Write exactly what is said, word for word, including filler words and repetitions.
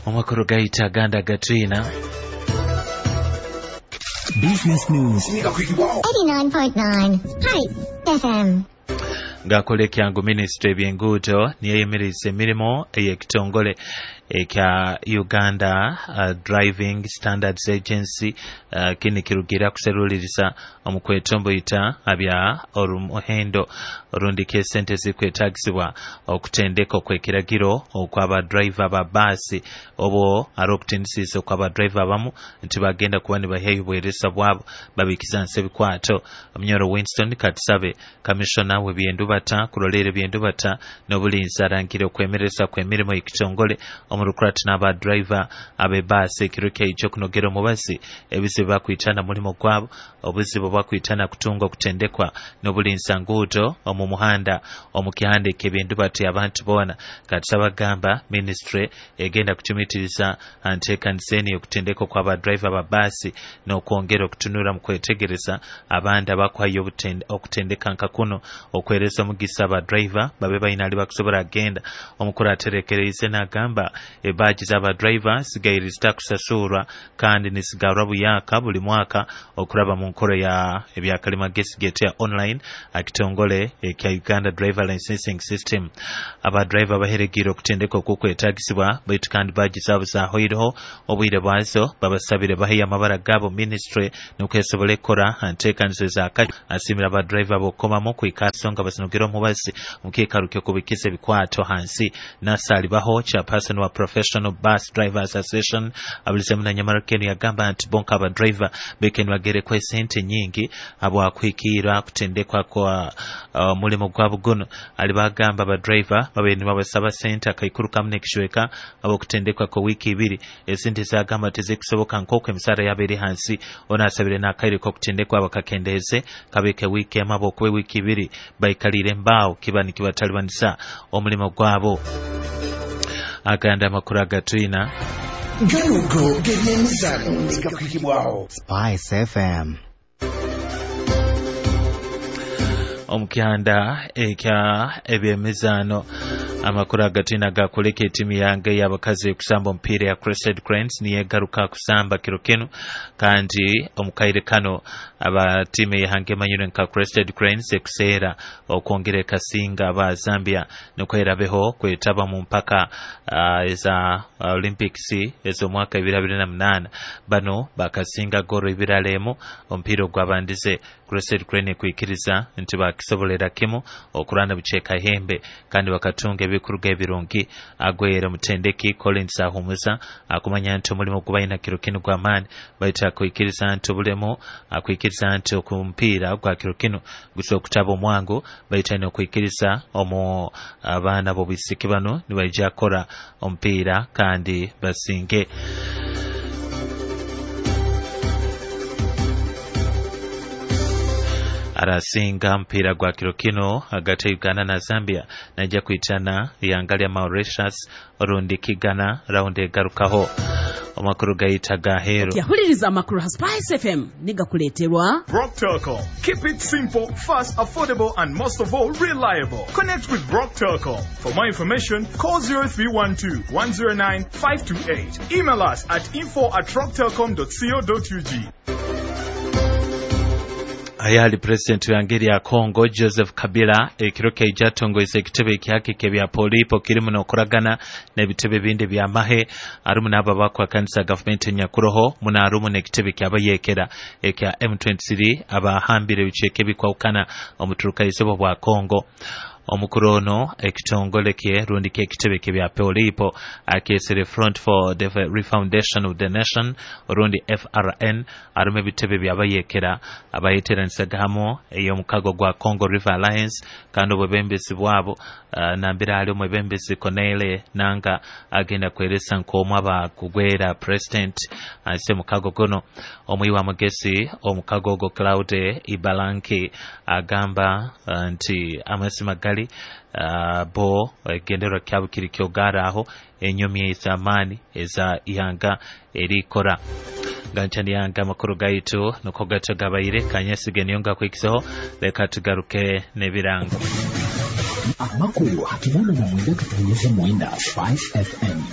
Omakuru gaita ganda gatwina Business News eighty-nine point nine Hi F M. Ngakole kyangu ministry ebyenguudo niyeyimiriza emirimu ey'ekitongole ekya Uganda uh, Driving Standards Agency uh, kini kirugira kuseruliriza omukwetomboyita abya orumuhendo orundi sente zikwetagisibwa okutendeka okwekiragiro okwaba driver ba basi obo arokutendisiza okwaba driver abamu nti bagenda kuba nibaheyo bweresa bwabo babikiza nse bikwato. Munyoro Winston Katsabe commissioner w'ebyendubata kurolera ebyendubata n'obulinzi arangire okwemereza kw'emirimu ekitongole omurukurati n'aba driver ab'ebaasi ekiro kyaija okunogera omubazi ebizibu bakwitana mulimo gwabo obuzibu bakwitana kutunga okutendekwa n'obulinzi nguudo omu muhanda omu kihande ky'ebyendubata abantu boona. Katsabe agamba ministry egenda kutumitiriza anteekaniseni okutendekwa kw'aba driver ba baasi n'okwongera okutunura mu kwetegereza abandi abakwayo okutendeka nka kuno okwereza omugisa aba driver babe balina ali bakusobola agenda. Omukuru aterekereize n'agamba ebaji z'aba driver sigaire zitakusasurwa kandi nisigarwa buyaka buli mwaka okuraba mu nkoro ya ebyakalimagezi getu ya online akitongole ekya Uganda Driver Licensing System. Aba driver baheregire okutendeka okukwetagisibwa baitu kandi baji zabo zahoireho obwire bwazo babasabire baheyo amabara gabo ministry nukwesobole kora anteekanizo zaka asimira aba driver bokomamu kwikasonga basinogera omubazi mukikaruke kubikiza ebikwato hansi. Nasali baho chairperson wa Professional Bus Drivers Association abulizemu na Nyamarakeni yagamba nti bonka aba driver bekeni bagere kwa sente nyingi abo akwikira kutendekwa kwa uh, mulimo gwa bugono. Alibagamba aba driver babe nibabasaba sente akaikuru kamne kishweka abo kutendekwa kwa wiki ibiri esente zagamba tezikusoboka nkoko emisara yabere hansi. Ona asabire n'akaire ko kutendekwa abakakendeze kabeke wiki amabo kwe wiki ibiri baikalire mbao kiba nikibatalibanisa omulimo gwabo. Aganda amakuru agatwina Ganugo gebyemizano ngakwikibwaho Spice F M. Omukyanda ekya ebyemizano amakuru agatwina gakuleka etimu yange y'abakazi kusamba omupiira ya Crested Cranes niyegaruka kusamba kiro kinu kandi omukaire kano aba timu yange manyire nka Crested Cranes ekuseera okwongera ekasinga aba Zambia nukwerabeho kwetaba mu mpaka uh, eza uh, Olympics ez'omwaka ibiri abiri na munana. Bano bakasinga goro ibiri alemu omupiira ogwabandize Crested Crane kuikiriza nti bakisobolera kimu okurana bucheka hembe kandi bakatunga ebikuruga ebirungi. Agwera mutendeki Collins Ahumuza akumanya nti omulimu gubayina kiro kinu gwa maani baita kuikiriza nti obulemu akuikiriza nti okumpiira gwa kiro kinu gusobola okutaba omwangu baita n'okuikiriza omu abaana b'obwisiki bano nibaija kora omupiira kandi basinge. Arasinga mpira gwa kiro kino hagati ya Uganda na Zambia naija kuitana yangalia Mauritius orundi kigana raundi egarukaho. Amakuru gaita gahero. Yahuliriza amakuru ha Spice F M nigakuleterwa Brock Telcom. Keep it simple, fast, affordable and most of all reliable. Connect with Brock Telcom. For more information, call zero three one two, one zero nine, five two eight. Email us at info at rocktelcom dot co dot U G. Ayali president wa ngeri ya Congo Joseph Kabila ekiro kyaija atongoize ekitebe ekyake kebya polipo kirimu n'okuragana n'ebitebe bindi bya mahe arumu n'abo abakwakanisa gavumenti nyakuroho muno arumu n'ekitebe kyabayekera ekya M twenty-three abahambire ebicweka ebikwawukana omuturuka-izooba bwa Congo. Omukuru ono ekitongole kye rundi k'ekitebe kebya polipo akyesere Front for the Refoundation of the Nation rundi F R N arumu ebitebe byabayekera abayeteranisaga hamu ey'omukago gwa Congo River Alliance kandi obwebembezi bwabo uh, nambira ali omwebembezi Corneille Nanga agenda kweresa nk'omu abakugwera president ase mukago guno. Omwiwa wa mugesi omukago ogwo Claude Ibalanki agamba uh, nti amazima gali Uh, bo egenderwa kyabo kiri kyogara aho enyomi ez'amaani eza ihanga erikora ganchani yanga amakuru gaitu nuko gato gabaire kanyesige niyonga kwikiseho leka tugaruke n'ebirango. Amakuru hakinana na mwenda tutunyeze mwenda Spice F M.